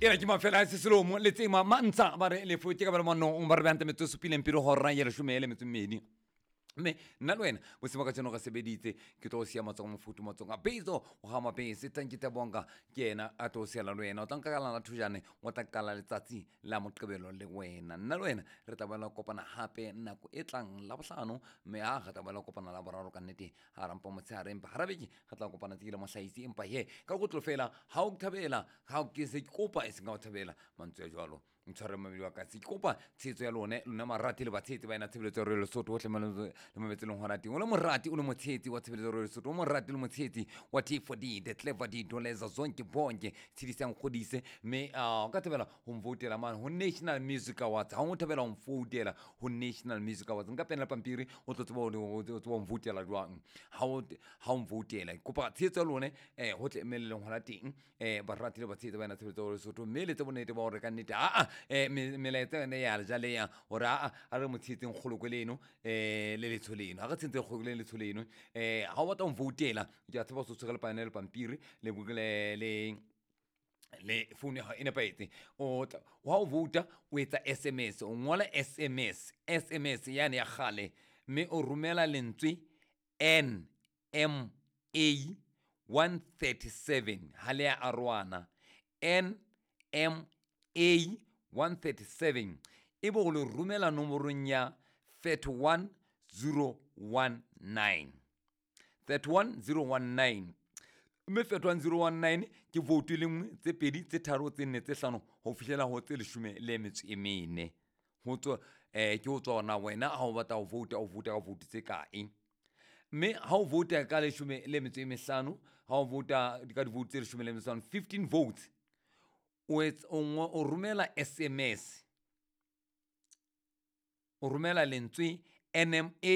Ena ke mafela a seselomo le tsema mantsha ba re lefo ke ka ba le manong ba re beante metsotso e supileng pele hora ya leshome le metso e mmedi. Mme nna le wena bosimo ka tseno re sebeditse, ke tlo o siya matsogo mofuthu, matsogo a bezo o ga mabese. Tanki Tabonga ke yena a tlo o siela le wena. O tla nka ka lana thojane, o tla qala letsatsi la Moqebelo le wena. Nna le wena re tla boela kopana hape nako e tlang la bohlano, mme ha re tla boela kopana la boraro ka nnete ha rampa motshehare, empa hara beke re tla kopana tse ke le mohlahisi. Empa he ka kotlo fela ha o thabela, ha ke se ke kopa e seng ka o thabela mantswe a jwalo, ntshware mmamedi wa ka, se ke kopa tshehetso ya lone, lona marati le batshehetsi ba ena tshebeletso ya Royal Lesotho hohle le mabetse leng hona teng. O le morati, o le motshehetsi wa tshebeletso ya Royal Lesotho, o morati le motshehetsi wa T4D, the clever D Doleza zonke bonke tshedisang kgodise, mme o ka thabela ho mvoutela mane ho National Music Awards. Ha o thabela ho mvoutela ho National Music Awards, nka pena le pampiri, o tlo tseba o tseba ho mvoutela jwang. Ha o mvoutela, kopa tshehetso ya lone hohle mme le leng hona teng, barati le batshehetsi ba ena tshebeletso ya Lesotho, mme le tse bonnete ba hore ka nnete aa melaetsa yone ya jaleya hore aa a re mo tshehetseng kgolokwe leno le letsho leno, ha re tshehetseng kgolokwe le letsho leno. Ha o batla ho mvoutela, ke a tshepa o se tshwere le pane le pampiri le le phone ya hao e nepahetse. O tla ha o vouta, o etsa SMS, o ngola SMS, SMS yane ya kgale, mme o romela lentswe NMA 137, ha le ya arohana, NMA 137, ebe o le romela nomorong ya 31019, 31019. Mme 31019 ke vote e le nngwe, tse pedi, tse tharo, tse nne, tse hlano, ho fihlela ho tse leshome le metso e mene. Ho tswa ke ho tswa hona wena ha o batla ho vouta, o vouta ka vote tse kae. Mme ha o vouta ka leshome le metso e mehlano, ha o vouta ka di-vote tse leshome le metso e mehlano, 15 votes, o etsa o romela SMS, o romela lentswe NMA.